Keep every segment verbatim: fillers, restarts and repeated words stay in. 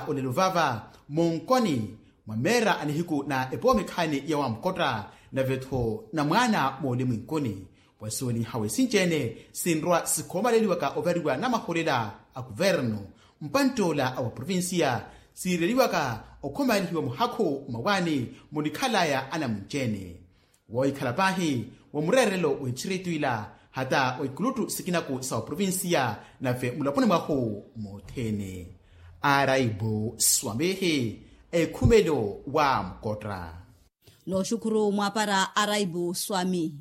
Olelo vava munkoni mwa meera a nihiku na epoomikhaani ya wamkotta nave-tho na mwaana moolimwinkuni. Wasuweliha wesinci-ene sinrwa sikhoomaleliwaka ovariwa namaholela a kuvernu mpantt'ola a wa provincia, siireliwaka okhomaalihiwa muhakhu mmawaani munikhalaya anamunci-ene. Woohikhala paahi wa mureerelo w'etthiritu ila hata wa ikuluttu sikinaku sa oprovincia nave mulaponi mwahu mothene. Araibu swamihi ekhumelo wa mukotta. Nooxukhuru mwaapara araibu swami.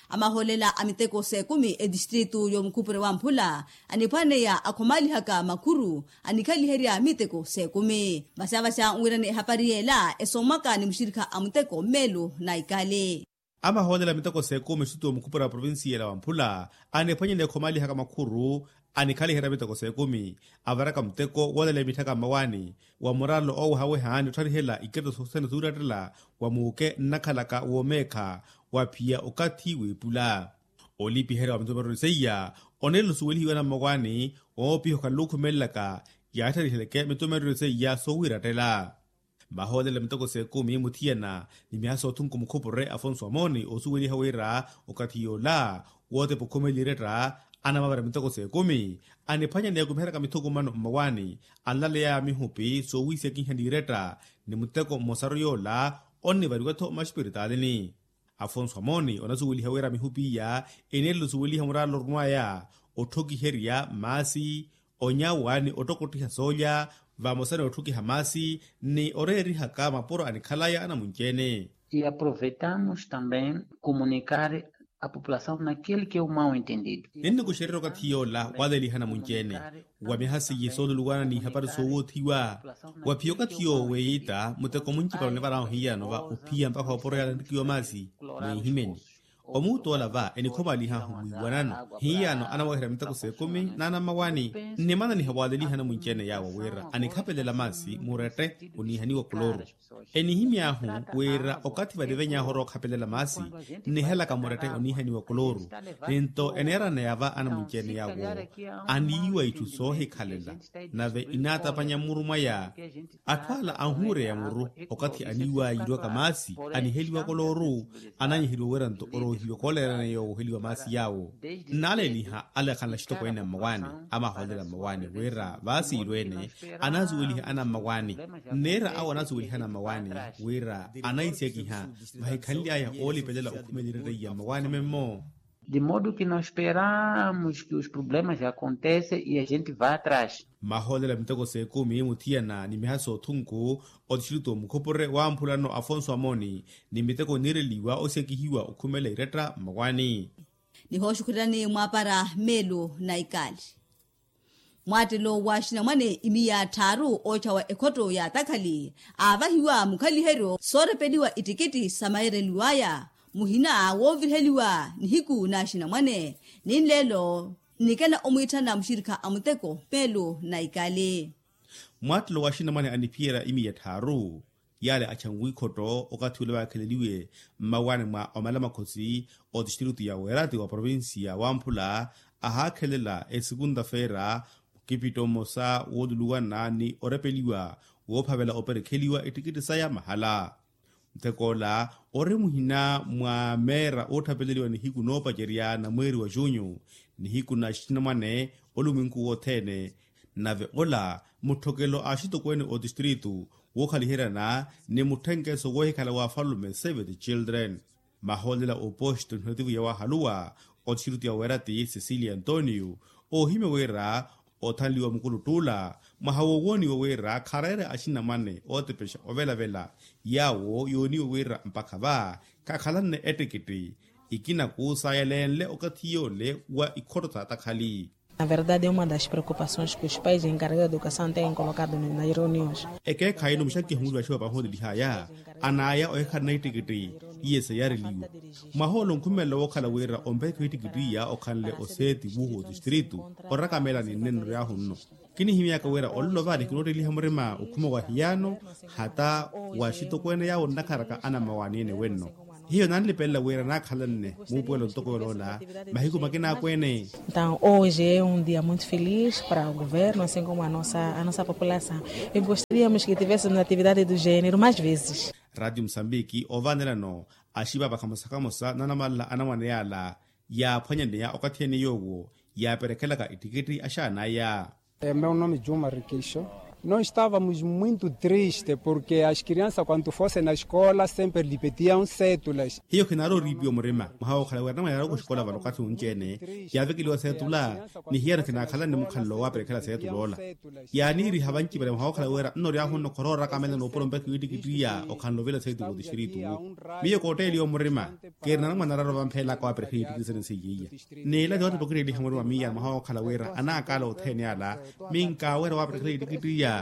Amahoolela a miteko s'ekumi etistritu y'omukhupure wa mphula aniphwaneya akhomaalihaka makhuru anikhaliherya miteko s'ekumi. Vasavasa nwirani ehapari yeela esoomwaka ni muxirikha a muteko mmeelo na ikali. Amahoolela miteko s'ekumi exutu omukhupura wa provincia ela wa mphula aniphwanyene ekhomaalihaka makhuru anikhaliherya miteko s'ekumi avaraka muteko woolela emitthaka mmawaani wa muralo oowehaweha ni ottharihela ikireti sothene suurattela wa muuke nnakhalaka woomeekha wa phiya okathi w'epula. Olipiherya wa mitomerero seiya oneelo suwelihiwa na mmawaani oopiha okhala luukhumelelaka yaattariheleke mitomerero seiya soowiirattela. Mahoolela miteko s'ekumi muthiyana ni miha soothunku mukhupure afonso amoni oosuweliha wira okathi yoola wootepa okhumela iretta anamavara miteko s'ekumi aniphwanya ni akumiheryaka mithukumano mmawaani anlaleyaya mihupi soowiisekiha n'iretta ni muteko mmosaru yoola onnivariwa-tho maxipiritalini. Afonso amoni onasuweliha wira mihupi iya eneerela osuweliha muraalo orumwaya otthokiherya maasi onyawa ni ottokottiha soolya vamosa ni otthukiha maasi ni oreerihaka mapuro anikhalaya anamunci-ene. E aproveitamos também comunicar a população naquele que é o mau entendido. Ninnikuxererya okathi yoola waaleliha anamunci-ene wa miha seiye sooluluwana n'ihapari soowoothiwa wa phiya okathi yoowo weeyita muteko muncipala onivarahu hiyano va ophiya mpakha opuro yaala enrikiwa maasi mwiihimeni. Omuutt'ola va enikhomalihahu wiiwanano hiyano anaweherya miteko s'ekumi n'anammawaani nnimananiha waaleliha anamunci-ene yaawo wira anikhapelela maasi murette oniihaniwa koloru. Enihimy'ahu wira okathi vaniveny'ahu orookhapelelya maasi nnihelaka murette oniihaniwa koloru. Ninto eneeraneya va anamunci-ene yaawo aniiwa itthu soohikhalela nave inaatapanya mmuru mwaya. Atthu ala anhuureya muru okathi aniiwa yiirwaka maasi aniheliwa koloru ananyiheliwa wira nto oroohiwa kooleerana yoowo oheliwa maasi yaawo. Nnaaleliha alekhanle axitokweene a mmawaani amahoolela mmawaani wira vaasiilweene anasuweliha anammawaani nneera awo anasuweliha anammawaani wira anahisekiha vahikhanly'aya oolipelela okhumela iretta iya mmawaani memmo. De modo que nós esperamos que os problemas aconteça e a gente vá atrás. Mahoolela miteko s'ekumi muthiyana ni miha soothunku otistritu omukhupure wa mphulano afonso amoni ni miteko eniireliwa osekihiwa okhumela iretta mmawaani. Nihooxukhulelani mwaapara meelo na ikali. Mwaattelo wa axinamwane imiya tthaaru ootthawa ekhotto ya atakhali aavahiwa mukhaliheryo soorepeliwa ittikitti samayereliw'aya muhina wooviriheliwa nihiku na axinamwane ni nleelo nnikela omwiitthana muxirikha a muteko meelo na ikali. Mwaattelo wa axinamwane aniphiyerya imiya tthaaru yaale achanwikhotto okathi ule vaakheleliwe mmawaani mwa omalamakhosi otistritu ya weerati wa provincia wamphula ahaakhelela esikunta-feera mukipitto mmosa wooluluwana ni orepeliwa woophavela operekheliwa ittikitti saya mahala. Muteko ola ori muhina mwa meera ootthapeleliwa nihiku noopacerya na mweeri wa junyu nihiku na axinamwane olumwinku wothene. Nave ola mutthokelo a axitokweene otistritu wookhaliheryana ni mutthenkeso woohikhala wa afalume save the children. Mahoolela oposto nihottivu yawaahaluwa otistritu ya weerati cecilia antonio oohimya wira othanliwa mukuluttuula mwaha woowooniwa wira khareere axinamwane ootepexa ovelavela yaawo yooniwa wira mpakha va khakhalanne ettikitti ikina kuusayelenle okathi yoole wa ikhotto s'atakhali. Na verdade é uma das preocupações que os pais encarregados de educação têm colocado nas reuniões. Ekeekhayi-no muxakiho mulivaxiwa vahoolelihaya anaya ohikhalana ittikitti iye seyareliwa mwaha ole onkhumelela wookhala wira ompeekha ittikitti iya okhanle oseeti wuuhu otistritu orakamela ni nnenno yaahu nno. Kinihimyaka wira olelo vale kinootteliha murima okhuma wa hiyano hata wa axitokweene yaawo nnakharaka anammawaani ene wenno. Hiyo nanlipelela wira naakhalanne muupuwelo ntoko yoloola mahiku makina akweene. Entaw hoje é um dia muito feliz para o governo assim como a nossa a nossa população. E gostaríamos que tivéssemos atividade do género mais vezes. Ratio musambiki oovanelano axipa vakhamosa khamosa nanamala anamwane yala yaaphwanyaneya okathi ene yoowo yaaperekhelaka ittikitti axaanaya. Meu nome juma rikixo. Nós estávamos muito triste porque as crianças quando fossem na escola sempre lhe pediam cédulas. Hiyo khinaari oriipiwa murima mwaha wookhala wira anamwane yaari oxikola vano okathi unci-ene yaavekeliwa seetula. Ni hiyano khinaakhalanne mukhalelo waaperekhela seetula ola yaaniiriha vancipale mwaha wookhala wira nno oryaahu nno khorooraka amela noopuro mpekha iwittikittiya okhanlovela seetula otixtiritu. Miyo kootteeliwa murima keeri nanamwane araaro vampheelaka waaperekhela iwittikittiya sene seiya iya. N'ila ti ottipokitteeliha murima miya mwaha wookhala wira anaakaala othene ala minkaawerya waaperekhela iwittikittiya.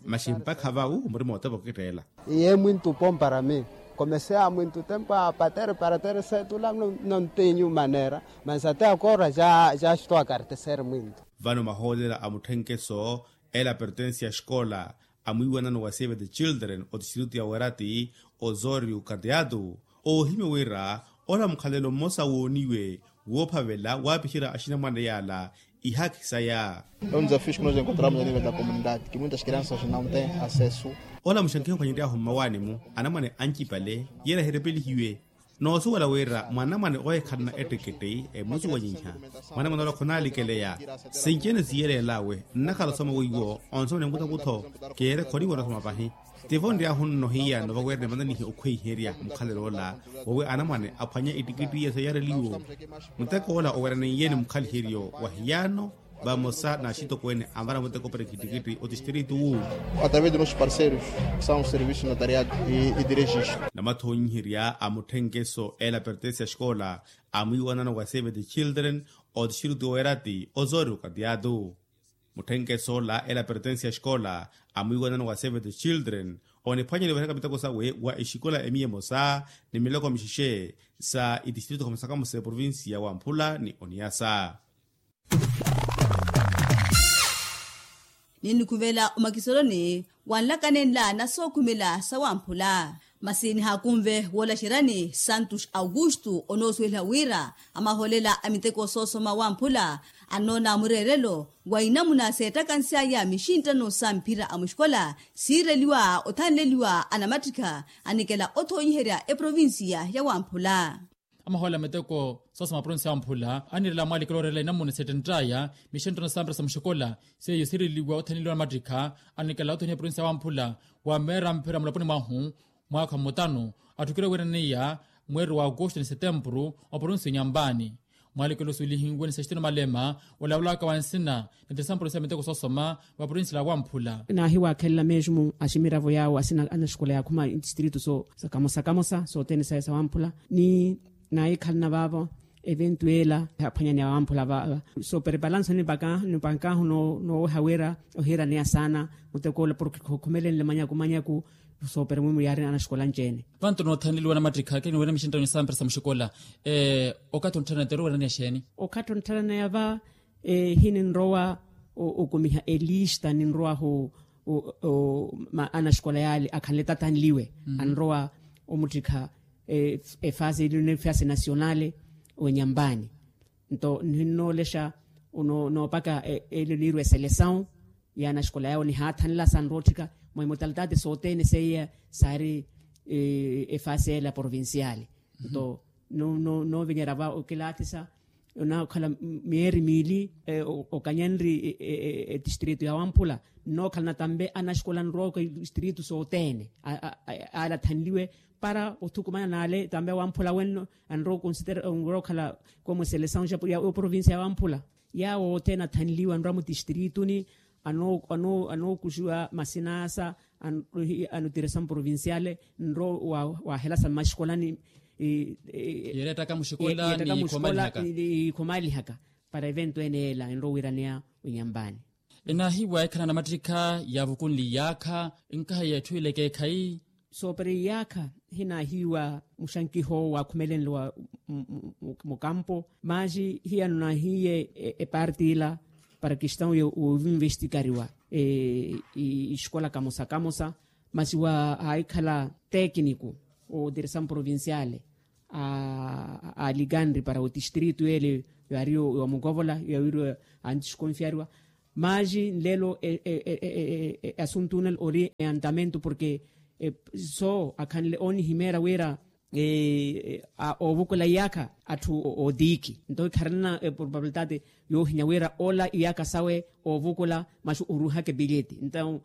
Masi mpakha va wu murima ottipokitteela. Iye mwintu pompara mi comecei a mwintu tempo a patere para tere seetula. Nontinyu manera mas até agora já já estou a cartecer mwintu. Vano mahoolela a mutthenkeso ela pertensi ya xikola amwiiwanano wa save the children otistiritu ya werati osorio kateatu oohimya wira ola mukhalelo mmosa wooniwe woophavela waapixerya axinamwane yala ihaakhi saya. Ola muxankiho ophwanyery'ahu mmawaani-mu anamwane ancipale yeera hirepelihiwe. Noosuwela wira mwanamwane oohikhalana ettekette emusuwanyiha mwanamwane ola khonaalikeleya. Sinci-ene siiyeleel'awe nnakhala osoma weiwo onsoma ni mutokutho keere khoniwela osoma pahi. Tivo nryaahu nno hiyano vawerene vananihe okhweiherya mukhalelo ola wowi anamwane aphwanya ittikittiya seyareliwo. Muteko ola oweraniye ni mukhaliheryo wa hiyano vamosa n'axitokweene anvara muteko para ekittikittiya otistiritu wu. Através de nossos parceiros que são o serviço notariado e de registro. Namathonyiherya a mutthenkeso ela pertensi ya xikola amwiiwanano wa save the children otistiritu weerati osoori okatiyatu. Mutthenkeso ola ela pertensi ya xikola amwiiwanano wa save the children oniphwanyeliwa oheraka miteko sawe wa exikola emiya emosa ni miloko mixixe sa itistiritu khamosa khamosa eprovinsiya wamphula ni oniyasa. Ninnikhuvela omakisoloni wanlakanenla nasookhumela sawamphula masi nihaakunve woolaxeryani santos augusto onoosuweliha wira amahoolela a miteko soosoma wamphula annoona mureerelo wa inamuna seettakansy'aya mixinttano sa mphira a muxikola siireliwa othanleliwa anamattikha anikela othonyiherya eprovinsiya ya wamphula. Amahoolela miteko soosoma provinsiya ya wamphula anirela mwaalikelo oreerela inamuna seettentt'aya mixenttano sa mphira sa muxikola seiyo siireliwa othanleliwa anamattikha anikela othonyiherya provinsiya ya wamphula wa meera mphira mulaponi mwahu mwaakha mutano atthukire wiiraniya mweeri wa agosto ni setempuru oprovinsi ya onyampani. Mwaalekelo osuwelihiwe ni sextino malema olavulaka wa nsina ni tisampuro sa miteko soosoma wa provinsi la wamphula. Naahiwaakhelela mesmo aximiravo yaawo asina anaxikola yaakhuma itistritu so sa kamosa kamosa sothene saya sa wamphula ni naahikhalana vaavo eventu ela aphwanyani ya wamphula vaava. Soopere palanso nipankahu nooweha wira ohiiraneya saana muteko ola porke khukhumelenle manyaku manyaku. Soopere mwimu yaari anaxikola anci-ene. Vantu noothanleliwa namattikha kini wira mixinttano ni sampira sa muxikola okathi onttharana teru wira ni axeeni? Okathi onttharana yava hininrowa okumiha elista ninrowahu anaxikola yaale akhanle tathanliwe anrowa omuttikha efase ili nefase nasionale. Onyampani nto ninnoolexa noopaka ele niirwa eselesawu ya anaxikola yawo nihaathanla sanrootthika mwa imotalitate sothene seiya saari efase ela provinciale. Nto noovinyerya va okilaathisa onaakhala miyeeri miili okanyenri etistritu ya wamphula nnookhalana tampe anaxikola anrowa okitistritu sothene ale athanliwe para othukumana n'ale tampe wamphula wenno anrowa okhala komu eselesawu ya oprovincia ya wamphula. Yaawo othene athanliwe anrowa mutistirituni anookuxiwa masinasa anotiresa mprovinciale nrowa wahelasa mmaxikolani. Yeerettaka muxikola ni ikhomalihaka para evento ene ela enrowa wiiraneya onyampani. Enaahiwa ekhala namattikha yaavukunli iyaakha nkahi ya etthu ile ekeekhayi. Soopera iyaakha hinaahiwa muxankiho waakhumelenle wa mukampo masi hiyano naahiye eparti ila para kestawu ya ovinvestikariwa exikola kamosa kamosa masi waahikhala tekiniku otiresamu provinciale alikanri para otistrito ele, yaari wa mukovola yawiri antisikonfyariwa. Maji nlelo e asuntu nela ori eyantamento porke so akhanle onihimeera wira ovukula iyakha atthu otiiki nto ikharanana probabilidade yoohinya wira ola iyakha sawe ovukula maxu oruhaka epileti nto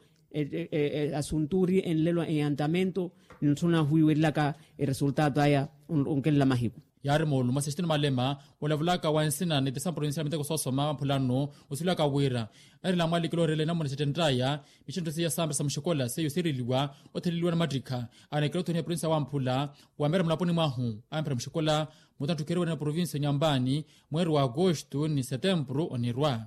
asuntu ori enlelo eyantamento nintthuna huwiwerilaka eresultato aya onkelela mahiku. Yaari moolumo sextino malema olavulaka wa nsina ni tisampuro ninsiya miteko soosoma mphulano osilaka wira erela mwalikilo orela enamuna xettenttaya mixintto siya sampira sa muxikola seiyo siireliwa otheleliwa na mattikha anekela othoniha provinsiya wamphula wamera mulaponi mwahu amphira muxikola mutantthukeriwa ni provinsiya nyambani mweeri wa agosto ni setempuru onirwa.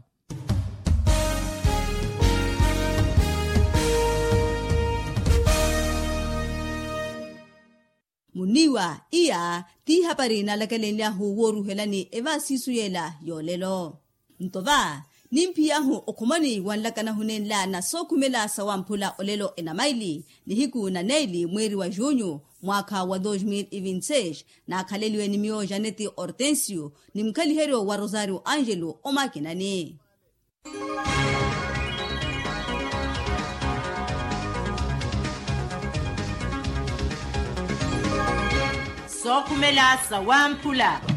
Muniiwa iya ti hapari nalakelenlyahu wooruhelani evaasiisu yeela yoolelo. Nto va nimphiyahu okhumani wa nlakanahu nenla na sookhumela sa wamphula olelo enamaili nihiku na neili mweeri wa junyu mwaakha wa dos mil e vinti seis naakhaleliwe ni miyo janeti hortensio ni mukhaliheryo wa rosario angelo omakinani. Sookhumela sa wamphula.